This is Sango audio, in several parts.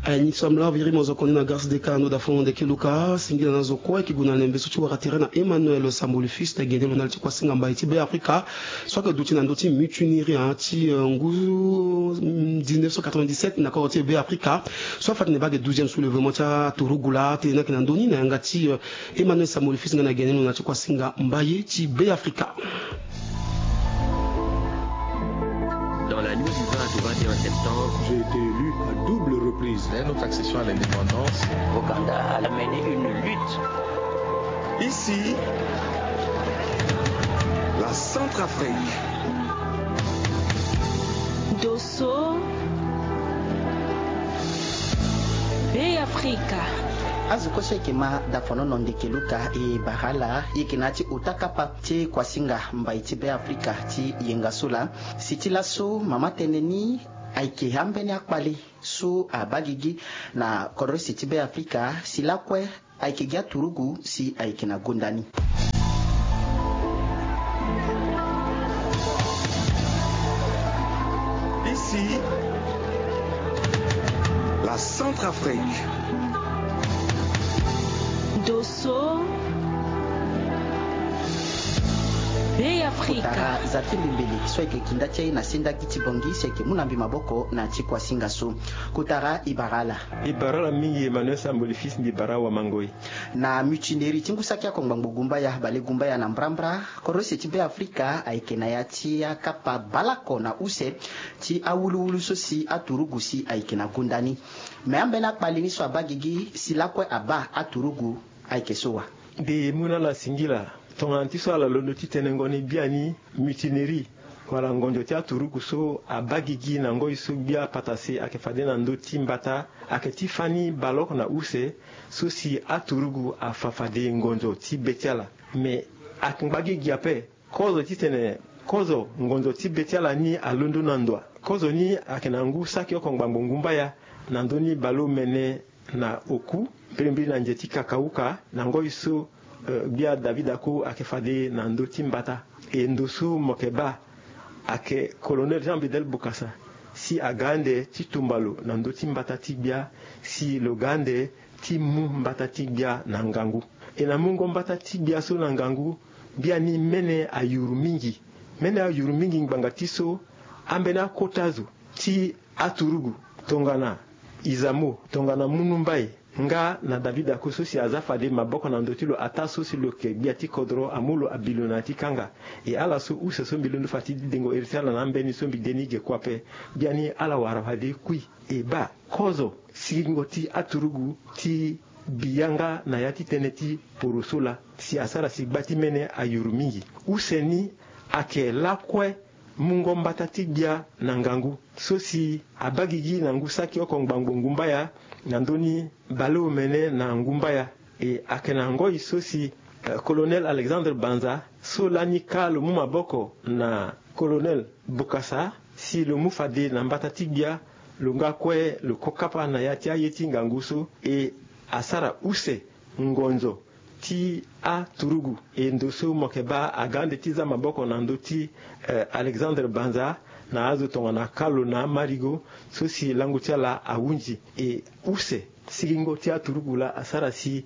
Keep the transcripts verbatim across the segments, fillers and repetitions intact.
Aye ni so amla viri mo zo koni na garsi de ka ndo da fono de kiluka singila na zo kue ki gu na lembe so ti wara tere na Emmanuel Samboli fils de gende lo na li ti kuasinga mbai ti Be Afrika. So ake duti na ndo ti mutinerie ti ngu dix-neuf cent quatre-vingt-dix-sept na koro ti Be Afrika. So afa tene bage douzième soulèvement ti aturugu la tene na yeke na ndoni na yanga ti Emmanuel Samboli fils nga na gende lo na ti kuasinga mbai ti Be Afrika. Dans la nuit du vingt au vingt et un septembre, j'ai été élu à double reprise. Dès notre accession à l'indépendance, Ouganda a mené une lutte. Ici, la Centrafrique. Dosso, Be Afrika. Azo kue so eke ma dafonono ndeke luka e bara ala eke na ya ti ota kapa ti kuasinga mbai ti Be Afrika ti yenga so laa. Si ti laso mama tene ni ayeke ambeni akpale so abaa gigi na kodro si ti Be Afrika si lakue ayeke gi aturugu si ayeke na gonda ni. Ici, la Centrafrique. Dosso, Be Afrika. Kotara za ti mbi mbele so ayeke kinda ti aye na sendaki ti bongi si ayeke mu na mbi maboko na ti kuasinga so. Kotara e bara ala. E bara ala mingi Emmanuel Samboli fils, mbi bara awamangoi. Na mutinerie ti ngu saki oko ngbangbo gumbaya bale gumbaya na mbrambra, kodro si ti Be Afrika ayeke na ya ti akapa baleoko na use ti awuluwulu so si aturugu si ayeke na gonda ni. Me ambeni akpale ni so abaa gigi si lakue abaa aturugu ayeke so wa. Mbi mu na ala singila tongana ti so ala londo ti tenengo ni biani mutinerie wala ngonzo ti aturugu so abaa gigi na ngoi so gbia patase ayeke fade na ndö ti mbata, ayeke ti fani baleoko na use so si aturugu afa fade ngonzo ti be ti ala. Me ayeke ngba gigi ape kozo titene kozo ngonzo ti be ti ala ni alondo na ndoa. Kozo ni ayeke na ngu saki oko ngbangbo ngumbaya na ndö ni baleomene na oku mbirimbiri na nze ti kakauka na ngoi so gbia David Ako ayeke fade na ndö ti mbata. E ndo so mo yeke baa ayeke Colonel Jean Bedel Bokassa si aga ande ti tumba lo na ndö ti mbata ti gbia si lo ga ande ti mu mbata ti gbia na ngangu. E na mungo mbata ti gbia so na ngangu biani mene ayuru mingi. Mene ayuru mingi ngbanga ti so ambeni akota zo ti aturugu tongana Izamo, tongana Munu Mbaye nga na David Ako so si aza fade maboko na ndö ti lo ataa so si lo yeke gbia ti kodro amu lo abi lo na ya ti kanga. E ala so use so mbi londo fa ti dengo iri ti ala na ambeni so mbi de ni ge kue ape. Biani ala wara fade kui. E baa kozo sigingo ti aturugu ti bi yanga na ya ti tënë ti poroso laa si asara si gba ti mene ayuru mingi. Use ni ayeke lakue mungo mbata ti gbia na ngangu so si abaa gigi na ngu saki oko ngbangbo ngumbaya na ndö ni baleomene na ngumbaya. E ayeke na ngoi so si Colonel Alexandre Banza so lani kâ lo mu maboko na Colonel Bokassa si lo mu fade na mbata ti gbia lo nga kue lo ko kapa na ya ti aye ti ngangu so. E asara use ngonzo ti aturugu. E ndo so mo yeke baa aga ande ti za maboko na ndö ti Alexandre Banza na azo tongana Kalo na Marigo so si lango ti ala ahunzi. E use sigingo ti aturugu laa asara si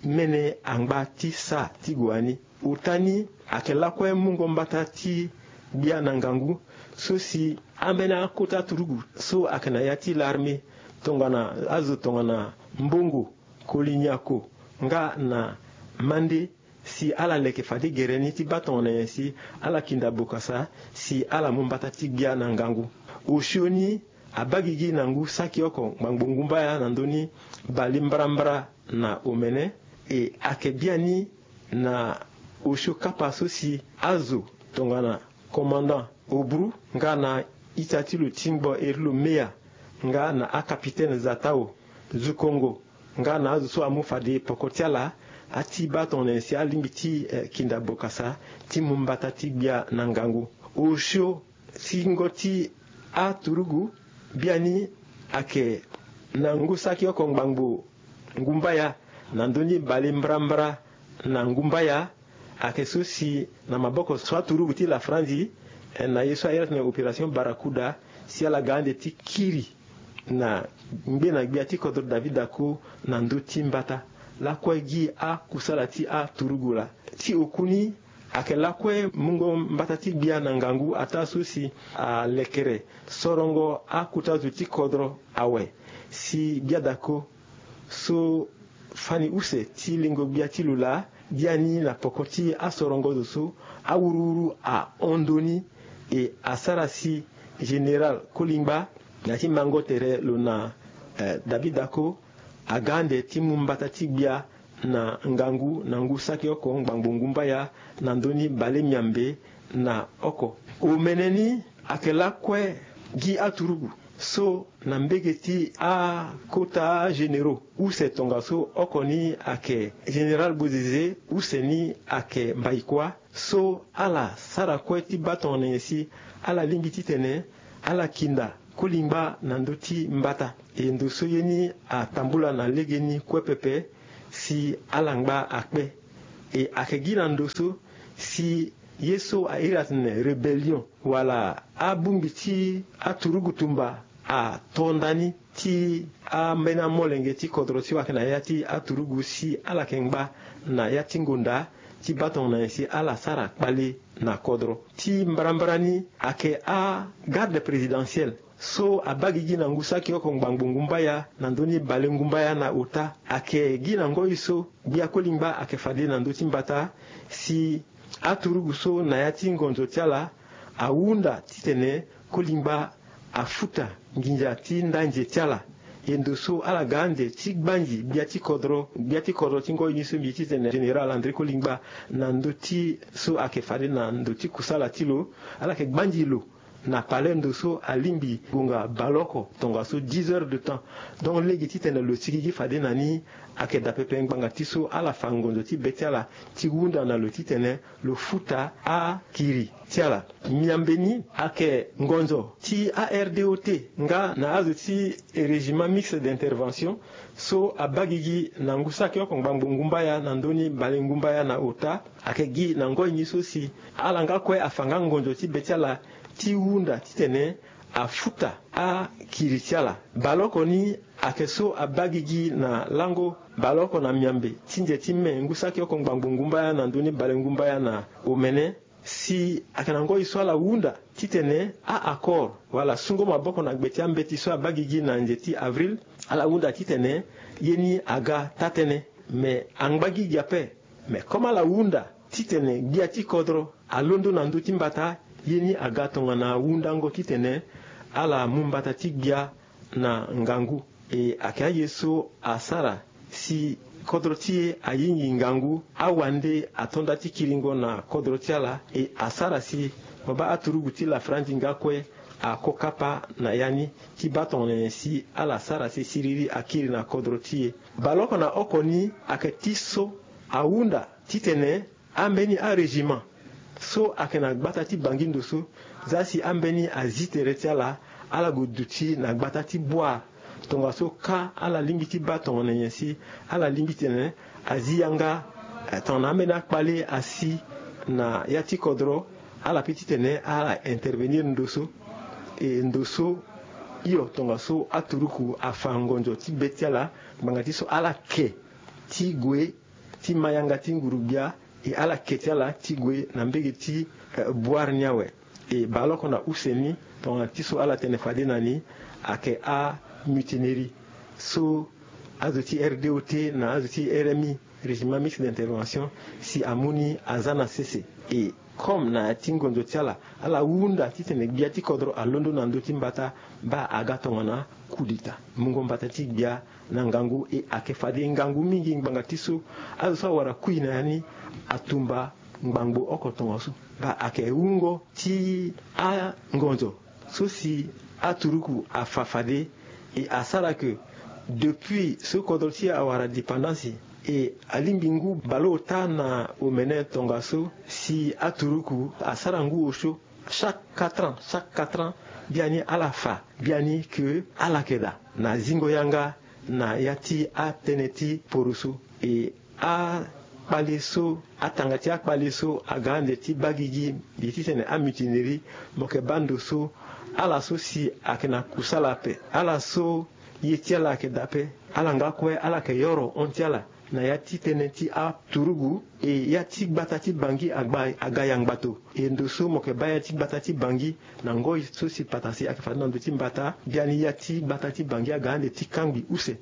mene angba ti sa ti gue ani. Ota ni ayeke lakue mungo mbata ti gbia na ngangu so si ambeni akota aturugu so ayeke na ya ti larme tongana azo tongana Mbongo, Kolinyako nga na Mande si ala leke fade gere ni ti baa tongana nyen si ala kinda Bokassa si ala mu mbata ti gbia na ngangu. Osio ni abaa gigi na ngu saki oko ngbangbo ngumbaya na ndö ni bale mbrambra na omene. E ayeke biani na osio kapa so si azo tongana commandant Obru nga na ita ti lo tingbo eri lo meya nga na acapitaine Zatao, Zukongo nga na azo so amu fade poko ti ala ati baa tongana nyen si alingbi ti kinda Bokassa ti mu mbata ti gbia na ngangu. Osio singo ti aturugu biani ayeke na ngu saki oko ngbangbo ngumbaya na ndö ni bale mbrambra na ngumbaya. Ayeke so si na maboko so aturugu ti lafranzi na ye so ayere tene opération Barracuda si ala ga ande ti kiri na ngbena gbia ti kodro David Dacko na ndö ti mbata lakue gi akusala ti aturugu laa. Ti oku ni, ayeke lakue mungo mbata ti gbia na ngangu ataa so si alekere sorongo akota zo ti kodro awe, si gbia Dacko so fani use ti lengo gbia ti lo laa, biani na poko ti asorongo zo so awuruwuru ahon ndö ni, e asara si général Kolingba na ya ti mango tere lo na, eh, David Dacko aga ande ti mu mbata ti gbia na ngangu na ngu saki oko ngbangbo ngumbaya na ndö ni bale miambe na oko. Omene ni ayeke lakue gi aturugu so na mbege ti akota généraux use tongaso oko ni ayeke général Bozizé, use ni ayeke Mbaïkoua, so ala sara kue ti baa tongana nyen si ala lingbi titene ala kinda Kolingba na ndö ti mbata. E ndo so ye ni atambula na legeni kue pepe si ala ngba akpe. E ayeke gi na ndo so si ye so a iri atene rébellion wala abongbi ti aturugu tumba ato ndani ti ambeni amolenge ti kodro ti wayeke na ya ti aturugu si ala yeke ngba na ya ti ngonda ti baa tongana nyen si ala sara kpale na kodro. Ti mbarambara ni ayeke agarde présidentielle so abaa gigi na ngu saki oko ngbangbo ngumbaya na ndö ni bale ngumbaya na ota. Ayeke gi na ngoi so gbia Kolingba ayeke fade na ndö ti mbata si aturugu so na ya ti ngonzo ti ala ahunda titene Kolingba afuta nginza ti ndanze ti ala. E ndo so ala ga ande ti gbanzi gbia ti kodro, gbia ti kodro ti ngoi ni so mbi ye titene général André Kolingba na ndö ti so ayeke fade na ndo ti kusala ti lo, ala yeke gbanzi lo na palais ndo so alingbi gonga baleoko tongaso dix heures de temps. Donc lege titene lo sigigi fade na ni ayeke daa pepe ngbanga ti so ala fa ngonzo ti be ti ala ti hunda na lo titene lo futa akiri ti ala. Miambe ni ayeke ngonzo ti a R D O T nga na azo ti régiment mixte d'intervention so abaa gigi na ngu saki oko ngbangbo ngumbaya na ndö ni bale ngumbaya na ota. Ayeke gi na ngoi ni so si ala nga kue afa nga ngonzo ti be ti ala ti hunda titene afuta akiri ti ala. Baleoko ni ayeke so abaa gigi na lango baleoko na miambe ti nze ti me ngu saki oko ngbangbo ngumbaya na ndö ni bale ngumbaya na omene. Si ayeke na ngoi so ala hunda titene a-accord wala sungo maboko na gbe ti ambeti so abaa gigi na nze ti avril, ala hunda titene ye ni aga taa-tënë. Me angba gigi ape. Me comme ala hunda titene gbia ti kodro alondo na ndö ti mbata, ye ni aga tongana hundango titene ala mu mbata ti gbia na ngangu. E ayeke aye so asara si kodro ti e ayingi ngangu, awande ato nda ti kiringo na kodro ti ala. E asara si mo baa aturugu ti lafrandi nga kue ako kapa na ya ni ti baa tongana nyen si ala sara si siriri akiri na kodro ti e. Baleoko na oko ni ayeke ti so ahunda titene ambeni arégiment so ayeke na gbata ti Bangi ndo so, za si ambeni azi tere ti ala, ala gue duti na gbata ti Bouar. Tongaso ka ala lingbi ti baa tongana nyen si ala lingbi titene azi yanga, eh, tongana ambeni akpale asi na ya ti kodro, ala pe titene ala intervenir ndo so. E ndo so hio tongaso aturuku afa ngonzo ti be ti ala ngbanga ti so ala ke ti gue ti ma yanga ti nguru-gbia. E ala ke ti ala ti gue na mbege ti, eh, Bouar ni awe. E baleoko na use ni tongana ti so ala tene fade na ni ayeke amutinerie so azo ti R D O T na azo ti R M I, régiment mixte d'intervention, si amu ni aza na sese. E comme na ya ti ngonzo ti ala, ala hunda titene gbia ti kodro alondo na ndö ti mbata, baa aga tongana coup d'État, mungo mbata ti gbia na ngangu. E ayeke fade ngangu mingi ngbanga ti so azo so awara kui na ya ni atumba ngbangbo oko tongaso. Baa ayeke wungo ti angonzo so si aturuku afa fade. E asara ke depuis so kodro ti e awara dépendance, e alingbi ngu baleota na omene tongaso si aturuku asara ngu osio. Chaque quatre ans, chaque quatre ans, biani ala fa biani ke ala yeke daa na zingo yanga na ya ti atënë ti poroso. E akpale so, atanga ti akpale so aga ande ti baa gigi, mbi ye titene amutinerie, mo yeke baa ndo so Ala so si ayeke na kusala ape, ala so ye ti ala ayeke daa ape, ala nga kue ala yeke yoro hon ti ala na ya ti tënë ti aturugu. E ya ti gbata ti Bangui agba aga yangbato. E ndo so mo yeke baa ya ti gbata ti Bangui na ngoi so si patara si ayeke fade na ndo ti mbata, biani ya ti gbata ti Bangui aga ande ti kangbi use.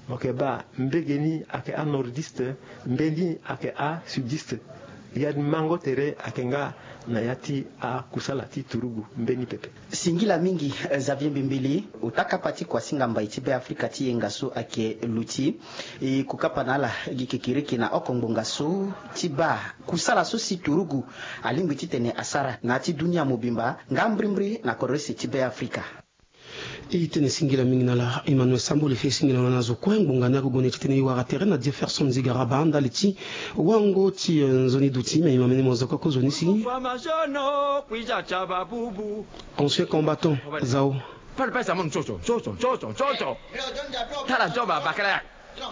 Mo yeke baa mbege ni ayeke anordiste, mbeni ayeke asudiste. Ya ni mango tere ayeke nga na ya ti akusala ti turugu mbeni pepe. Singila mingi, eh, Xavier Mbembele, ota kapa ti kuasinga mbai ti Be Afrika ti yenga so ayeke luti. E kokapa na ala gi kekereke na oko ngbonga so ti baa kusala so si turugu alingbi titene asara na ya ti dunia mobimba nga mbrimbri na kodro ese ti Be Afrika. E tene singila mingi na ala. Emmanuel Sambole fê singila na ala na zo kue ngbonga ni agogo na e titene e wara tere na Jefferson Zigaraba ndali ti wango ti, eh, nzoni duti me e ma mene mo zo kue kozoni si. Ancien combattant, zao. Pale pesa mo ntsotso ntsotso ntsotso ntsotso. Tala joba bakala ya.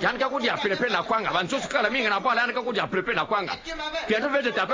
Yandi ka kudia pelepele na kwanga. Bansusu kala mingi na bwala, yandi ka kudia pelepele na kwanga. Piento vete tapele.